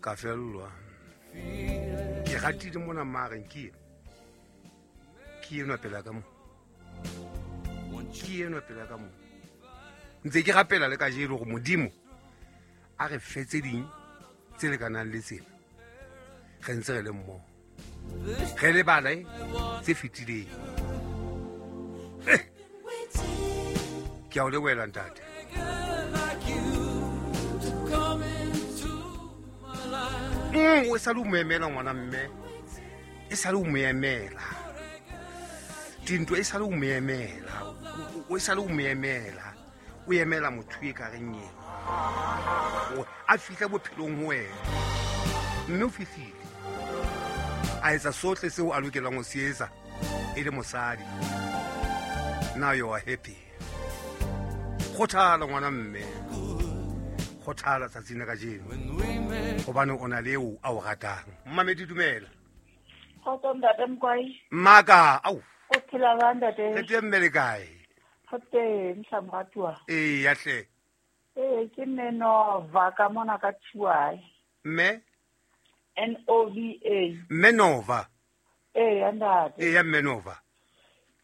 Ka fellwa. Ke ratile mona mareng ke eno. Ke enwa pela ka mo. Ke enwa pela ka mo. Ntse ke rapela le kajeno gore Modimo a re fe tse ding tse lekanang le tsena. Re ntse re le mmoho. Re lebale tse fetileng. Ke a o lebohela ntate. O sa le o mo emela ngwana mme. E sa le o mo emela. Dinto e sa le o mo emela. O sa le o mo emela. O emela motho e ka reng ena. A fihla bophelong ho wena. Mme o fihlile. A etsa sohle seo a lokelang ho se etsa e le mosadi. Now you are happy. Kgothala ngwana mme. Kgothala tsatsing la kajeno. Hobane o na le eo a o ratang. Mmamedi dumela. Kgotso ntate Mkwai. Mmaka, au. O phela jwang ntate? Re teng mme le kae? Re teng hla moratuwa. Ee, ya hle. Ee, ke mme Nova ka mona ka Tshuai. Mme? N O V A. Mme Nova. Ee, ya ntate. Ee, ya mme Nova.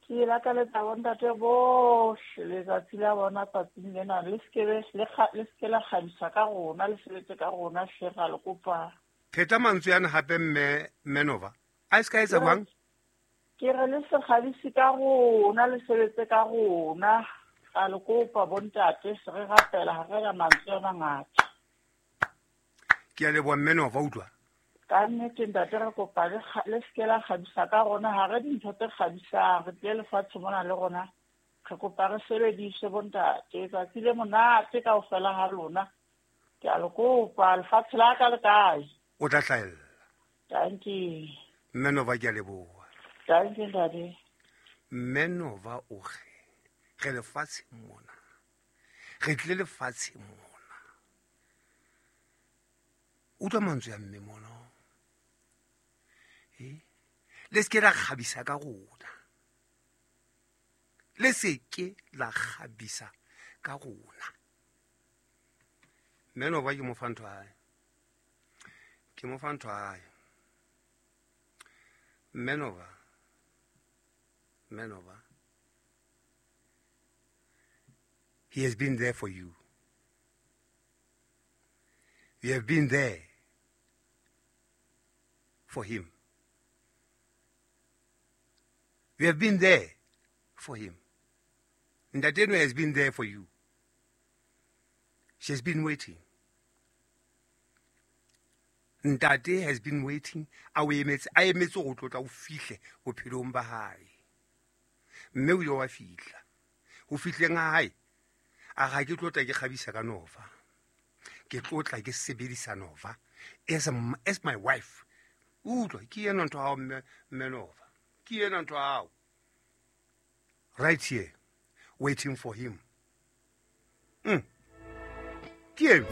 Ke lakaletsa bontate bohle letsatsi la bona tsatsing lena le sekebe le seke la kgabisa ka rona le sebetse ka rona hle ra le kopa. Pheta mantswe ana hape mme mme Nova. A se ka etsa jwang? Ke re le se kgabise ka rona le sebetse ka rona ra le kopa bontate se re rapela ha re na mantswe a mangata. Ke a leboha mme Nova utlwa. Ka nnete ntate re kopa le seke la kgabisa ka rona ha re dintho tse kgabisang re tlile lefatshe mona le rona re kopa re sebedise bontate tsatsi le monate kaofela ha lona. Ke a le kopa lefatshe la ka le kae? O tla hlahella. Thank you. Mme Nova ke a leboha. Thank you ntate. Mme Nova o re re lefatshe mona. Re tlile lefatshe mona. Utlwa mantswe a mme mona. Le seke la kgabisa ka rona. Le seke la kgabisa ka rona. Mme Nova ke mo fa ntho hae. Ke mo fa ntho hae. Mme Nova. Mme Nova. He has been there for you. You have been there for him. You have been there for him. Ntateno has been there for you. She has been waiting. Ntate has been waiting. A o emetse, a emetse go tlotla o fihle bophelong ba hae. Mme o ile wa fihla. Ho fihleng ha hae, a ga ke tlotla ke kgabisa ka Nova. Ke tlotla ke sebedisa Nova as my wife. Utlwa, ke ena ntho hao mme Nova. Ke ena ntho hao. Right here, waiting for him. Ke eno.